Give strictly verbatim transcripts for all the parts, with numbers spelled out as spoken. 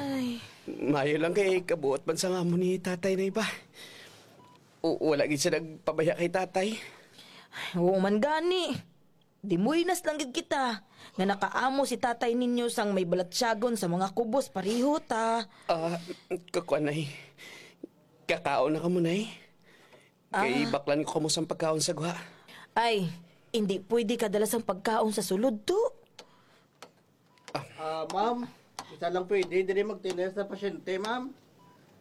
Ay. Maayo lang kay kabuot man sang amo ni tatay, Nay, ba. O, wala gid siya nagpabaya kay tatay. Ay, oo man gani. Dimuinas lang gid kita nga nakaamo si tatay ninyo sang may balatyagon sa mga kubos pareho ta. Ah, kakuan, Nay. Kakaon na kamo, Nay. Kay Ah. baklan ko kamo sang pagkaon sa gwa. Ay, hindi pwede ka dala sang pagkaon sa sulod, to. Ah, ma'am, isa lang pwede, diri magtinda sa pasyente, ma'am.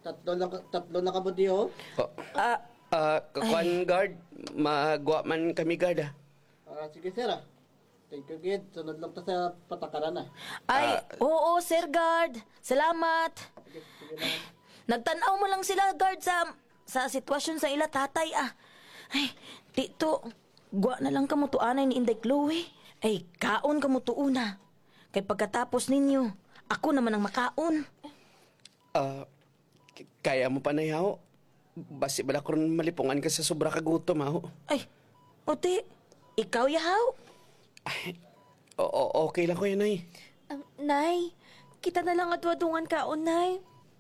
Tatlo lang, ka- tatlo na kamo diyo. Oh. Ah, Ah, kakuan, ay. Guard. Magwa man kami, guard, ah. Ah, sige, sir, ah. Thank you, gid. Sunod lang ta sa patakaran, ah. Ay, Ah. oo, Sir Guard. Salamat. Sige, sige, ma'am. Nagtan-aw mo lang sila, Guard, sa, sa sitwasyon sa ila tatay, ah. Ay, tito, gwa na lang kamo to anay ni Inday Chloe. Ay, kaon kamo to una. Kay pagkatapos ninyo, ako naman ang makaon. Ah, k- kaya mo pa, Nay, haw? Basi bala karon malipungan ka sa sobra ka gutom, haw? Ay, uti, ikaw, ya, haw? Ay, o- o- okay lang ko yan, Nay. Um, Nay, kita na lang adto-adungan kaon, Nay.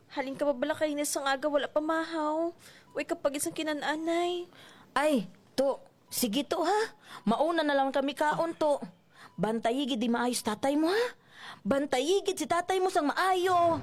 Halin ka pa bala kaina sang aga, wala pa mahaw. Way ka pa gid sang kinan-an, Nay. Ay, to, sige to, ha? Mauna na lang kami kaon to. Bantayi gid di maayos tatay mo, ha? Bantayi gid si tatay mo sang maayo.